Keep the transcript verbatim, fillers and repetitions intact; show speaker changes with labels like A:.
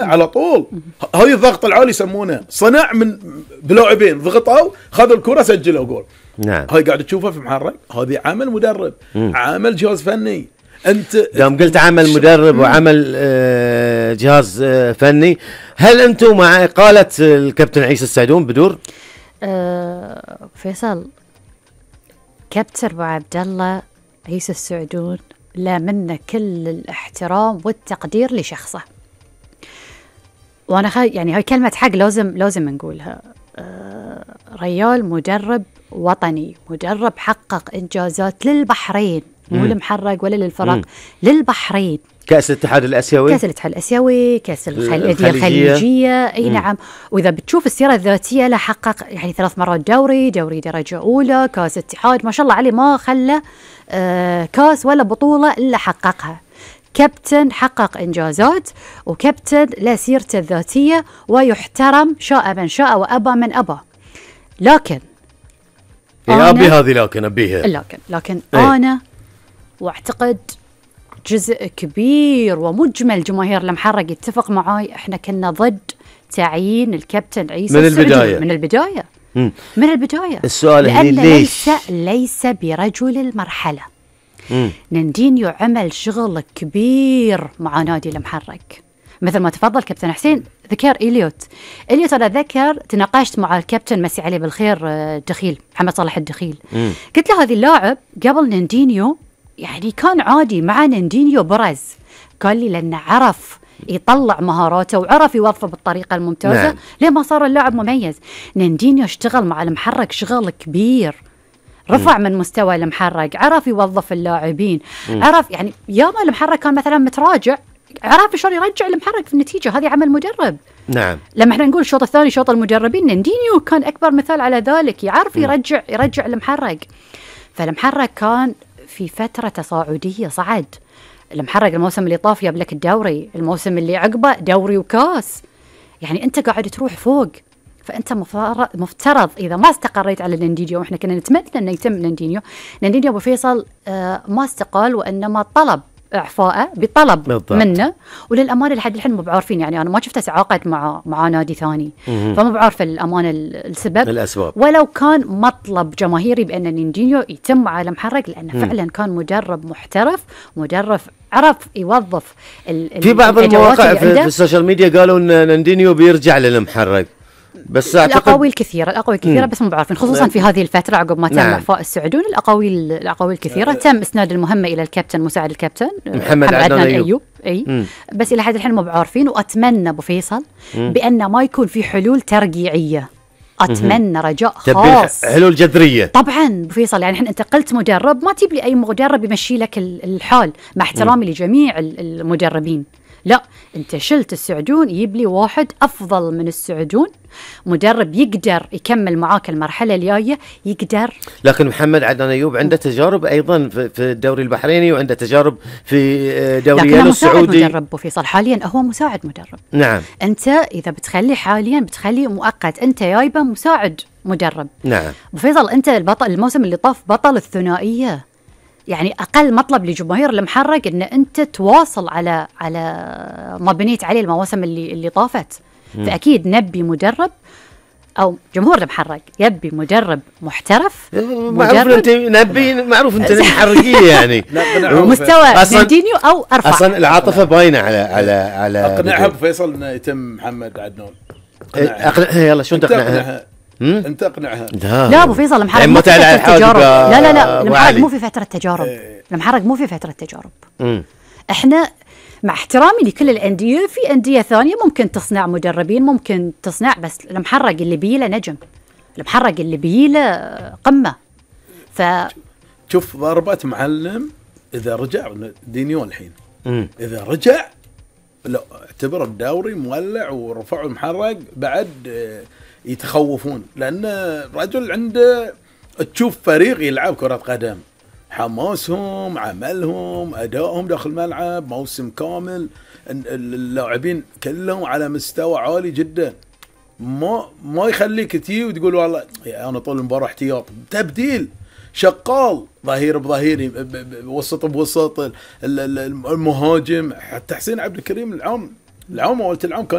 A: على طول. هاي الضغط العالي يسمونه صنع من بلاعبين ضغطوا خذوا الكرة سجلوا جول.
B: نعم.
A: هاي قاعد تشوفها في محرك، هذه عمل مدرب، مم. عمل جهاز فني. انت
B: دام قلت عمل مدرب وعمل جهاز فني، هل انتم مع إقالة الكابتن عيسى السعدون بدور؟
C: أه فيصل، كابتن ابو عبد الله عيسى السعدون لا منا كل الاحترام والتقدير لشخصه، وانا خي يعني هاي كلمه حق لازم لازم نقولها. أه ريال مدرب وطني، مدرب حقق انجازات للبحرين، مو المحرق ولا للفرق، مم. للبحرين.
B: كأس الاتحاد الآسيوي،
C: كأس الاتحاد الآسيوي، كأس الخليجية, الخليجية. اي مم. نعم. واذا بتشوف السيرة الذاتية له، حقق يعني ثلاث مرات دوري، دوري درجة أولى، كأس اتحاد، ما شاء الله عليه، ما خلى آه كأس ولا بطولة إلا حققها. كابتن حقق إنجازات، وكابتن لا سيرته الذاتية، ويحترم شاء من شاء وأبى من أبى. لكن
B: يا أبي هذه لكن أبيها
C: لكن لكن ايه؟ أنا واعتقد جزء كبير ومجمل جماهير المحرق يتفق معاي، احنا كنا ضد تعيين الكابتن عيسى
B: من البداية.
C: من البداية
B: مم.
C: من البداية.
B: السؤال هي ليش؟
C: ليس, ليس برجل المرحلة. مم. نندينيو عمل شغل كبير مع نادي المحرق، مثل ما تفضل كابتن حسين ذكر إليوت. إليوت أنا ذكر تناقشت مع الكابتن مسي عليه بالخير دخيل محمد صالح الدخيل، مم. قلت له هذا اللاعب قبل نندينيو يعني كان عادي، مع نندينيو برز، قال لي لأنه عرف يطلع مهاراته وعرف يوظفه بالطريقة الممتازة. نعم. ليه ما صار اللاعب مميز؟ نندينيو اشتغل مع المحرق شغل كبير، رفع م. من مستوى المحرق، عرف يوظف اللاعبين، م. عرف يعني ياما المحرق كان مثلا متراجع، عرف شلون يرجع المحرق في النتيجة. هذه عمل مدرب.
B: نعم.
C: لما احنا نقول الشوط الثاني شوط المدربين، نندينيو كان أكبر مثال على ذلك، يعرف م. يرجع يرجع المحرق. فالمحرق كان في فترة تصاعدية، صعد المحرق الموسم اللي طاف جاب لك الدوري، الموسم اللي عقبه دوري وكاس، يعني أنت قاعد تروح فوق. فأنت مفترض إذا ما استقريت على نندينيو، وإحنا كنا نتمنى أنه يتم نندينيو، نندينيو أبو فيصل آه ما استقال، وإنما طلب إعفاءه بطلب بالضبط منه. وللأمانة لحد الحين مو بعارفين، يعني أنا ما شفته تعاقد مع مع نادي ثاني، فما بعرف الأمانة السبب
B: الأسباب.
C: ولو كان مطلب جماهيري بأن نندينيو يتم على محرق، لأنه مم. فعلا كان مدرب محترف، مدرب عرف يوظف.
B: في بعض المواقع في, في السوشيال ميديا قالوا أن نندينيو بيرجع للمحرق، بس
C: الأقاويل كثيرة، الأقاويل كثيرة بس مو بعرفين، خصوصا في هذه الفترة عقب ما تم
B: نعم.
C: إعفاء السعدون. الأقاويل الأقاويل كثيرة. تم إسناد المهمة إلى الكابتن مساعد الكابتن
B: محمد عدنان أيوب, أيوب.
C: أي مم. بس إلى حد الحين مو بعارفين. وأتمنى أبو فيصل بأن ما يكون في حلول ترقيعية، أتمنى رجاء خاص،
B: حلول جذرية
C: طبعا أبو فيصل. يعني أنت قلت مدرب، ما تجيب لي أي مدرب يمشي لك الحال، مع احترامي مم. لجميع المدربين، لا أنت شلت السعدون، يجيب لي واحد أفضل من السعدون، مدرب يقدر يكمل معاك المرحلة الجاية، يقدر.
B: لكن محمد عدنان أيوب عنده تجارب أيضا في الدوري البحريني، وعنده تجارب في دوريات السعودي.
C: لكن مدرب وفيصل حاليا هو مساعد مدرب.
B: نعم.
C: أنت إذا بتخلي حاليا بتخليه مؤقت، أنت جايبه مساعد مدرب.
B: نعم.
C: وفيصل أنت البطل الموسم اللي طاف بطل الثنائية، يعني أقل مطلب لجماهير المحرق إن أنت تواصل على على ما بنيت عليه المواسم اللي اللي طافت. م. فأكيد نبي مدرب، أو جمهور المحرق يبي مدرب محترف.
B: معروف أنت نبي، معروف أنت محرقية يعني
C: مستوى نندينيو أو أرفع.
B: أصلا العاطفة باينة على على على
A: أقنعها بفيصل إنه يتم محمد عدنان.
B: أقنعها يلا، شو تقنعها؟
A: انت اقنعها.
C: لا ابو فيصل المحرق مو في فتره تجارب. لا لا لا المحرق مو في فتره تجارب. المحرق مو في فتره تجارب. مم. احنا مع احترامي لكل الانديه، في انديه ثانيه ممكن تصنع مدربين، ممكن تصنع، بس المحرق اللي بيله نجم، المحرق اللي بيله قمه. ف
A: شوف ضربة معلم اذا رجع دينيو الحين، مم. اذا رجع لا اعتبر الدوري مولع، ورفعوا المحرق بعد يتخوفون، لأن رجل عنده تشوف فريق يلعب كرة قدم، حماسهم، عملهم، أدائهم داخل الملعب، موسم كامل، اللاعبين كلهم على مستوى عالي جدا. ما ما يخليك تي وتقول والله أنا طول المباراة احتياط، تبديل، شغال، ظهير بظهير، وسط بوسط، المهاجم، حتى حسين عبد الكريم العام العوم اول العوم كان